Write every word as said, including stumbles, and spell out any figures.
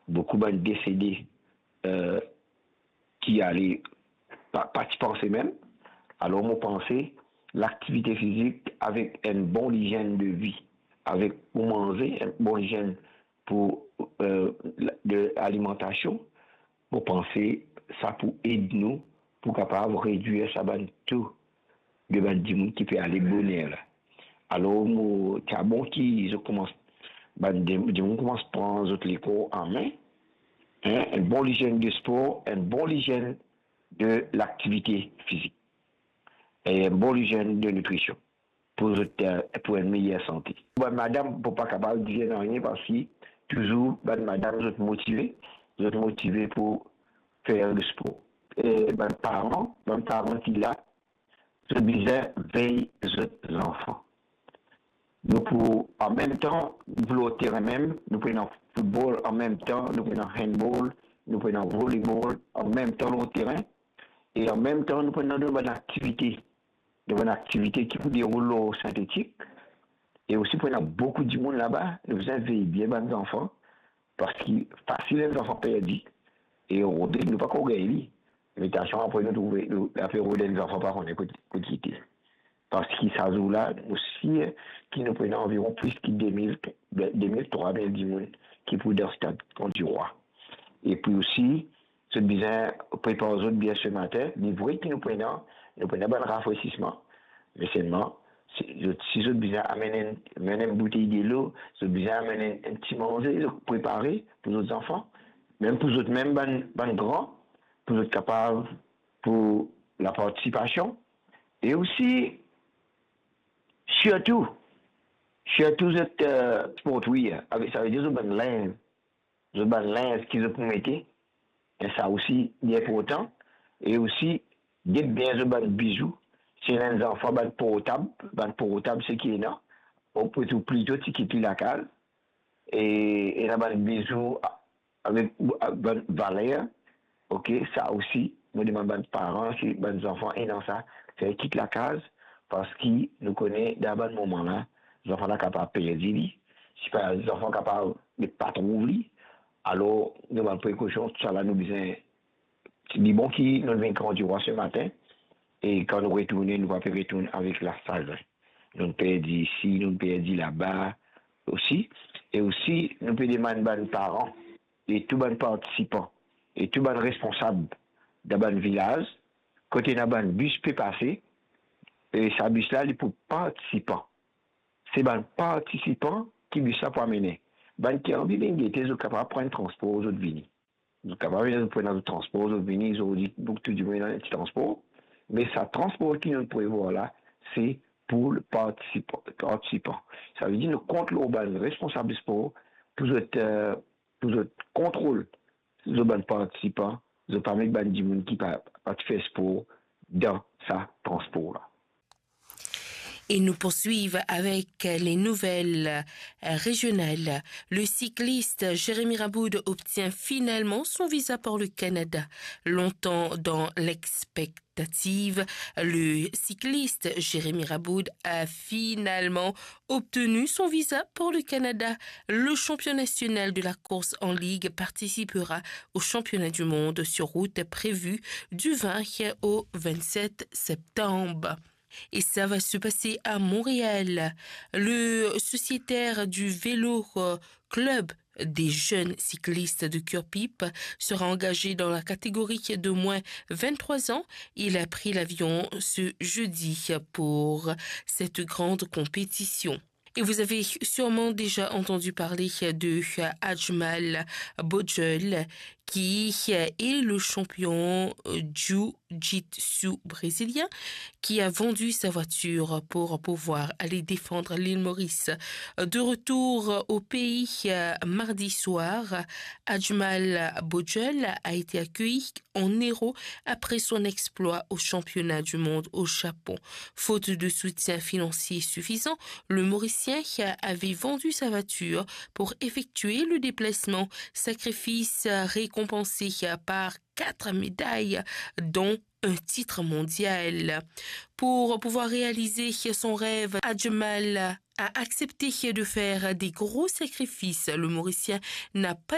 boukou bann desede, eh, ki ale pa, pa ti panse mem. Alor, mo panse, laktivite fizik avek enn bon lizenn de vi, avek pou manze, enn bon lizenn pou, eh, la, de alimantasion, mo panse sa pou ed nou pou kapav redwir sa bann to de bann dimoun ki pe ale boner la. Alor, mo, ti a bon ki zot koumans, bann di-, dimoun koumans pran zot lekor an me, en, enn bon lizenn de spor, enn bon lizenn de laktivite fizik, e enn bon lizenn de nitrision pou zot, eh, pou enn meyer sante. Bann madam pou pa kapav dir nanye, parski touzour bann madam zot motive, zot motive pou fer le spor. E bann paran, bann paran ki la, zot bizin vey zot zanfan. Nou pou, an mem tan, nou pou lor terin mem, nou pou ena foutbol, an mem tan, nou pou ena handball, nou pou ena volleyball, an mem tan lor terin, e an mem tan, nou pou ena bann aktivite, bann aktivite ki pou deroul lor sintetik, e osi pou ena boukou dimoun laba, nou bizin vey bien bann zanfan, parski fasil enn zanfan perdi, e rode, nou pa ankor gagn li. Me tansion apre nou trouve, nou, apre rode enn zanfan pa kone kot, kot li ete. Parski sa zour la, mo sir ki nou pou ena anviron plis ki de mil, de mil, trwa mil dimoun ki pou dan stad Kan Dirwa. Epi osi, zot bizin prepar zot bien se matin. Li vre ki nou pou ena, nou pou ena bann rafresisman. Me selman, si zot, si zot bizin amenn enn, amenn enn boutey delo, zot bizin amenn enn, enn ti manze, zot prepare pou zot zanfan, mem pou zot mem bann, bann gran, pou zot kapav, pou lapartisipasion. E osi, sirtou, sirtou zot, eh, sportwear, avek, savedir zot bann linz, zot bann linz ki zot pou mete, e sa osi li inportan. E osi, get bien zot bann bizou. Si ena enn zanfan, bann portab, bann portab seki ena, ou pou trouv plito ti kit li lakaz. E ena bann bizou a-, avek, avek bann valer, ok, sa osi, mo demann bann paran, si bann zanfan ena sa, fer kit lakaz, parski nou kone dan bann moman la, zanfan la kapav perdi li, si pa, zanfan kapav ne pa trouv li, alor, nou bann prekosion, tousala nou bizin, li bon ki nou vinn Kan Dirwa se matin, e kan nou retourne, nou pa pe retourn avek lasagrin. Nou'nn perdi isi, nou'nn perdi laba osi. E osi, nou pe demann bann paran e tou bann partisipan e tou bann responsab dan bann vilaz, kot ena bann bis pe pase, e sa bis la, li pou partisipan. Se bann partisipan ki bis la pou amene. Bann ki anvi vinn gete, zot kapav pran transpor, zot vini. Zot kapav vini, zot pran zot transpor, zot vini, zot dir, donk, tou dimoun ena enn ti transpor. Me sa transpor ki nou prevwar la, se pou le partisipan, partisipan. Savedir nou kont lor bann responsab spor pou zot, eh, pou zot kontrol zot bann partisipan, zot pa met bann dimoun ki pa, pa ti fer spor dan sa transpor la. Et nous poursuivons avec les nouvelles, euh, régionales. Le cycliste Jérémy Raboud obtient finalement son visa pour le Canada. Longtemps dans l'expectative, le cycliste Jérémy Raboud a finalement obtenu son visa pour le Canada. Le champion national de la course en ligne participera au championnat du monde sur route prévu du vingt au vingt-sept septembre. Et ça va se passer à Montréal. Le sociétaire du Vélo, euh, Club des jeunes cyclistes de Curepipe sera engagé dans la catégorie de moins vingt-trois ans. Il a pris l'avion ce jeudi pour cette grande compétition. Et vous avez sûrement déjà entendu parler de Ajmal Bojol, qui est le champion jiu-jitsu brésilien, qui a vendu sa voiture pour pouvoir aller défendre l'île Maurice. De retour au pays, euh, mardi soir, Ajmal Bojol a été accueilli en héros après son exploit au championnat du monde au Japon. Faute de soutien financier suffisant, le Mauricien avait vendu sa voiture pour effectuer le déplacement. Sacrifice récompensé par quatre médailles, dont un titre mondial. Pour pouvoir réaliser son rêve, Ajmal a accepté de faire des gros sacrifices. Le Mauricien n'a pas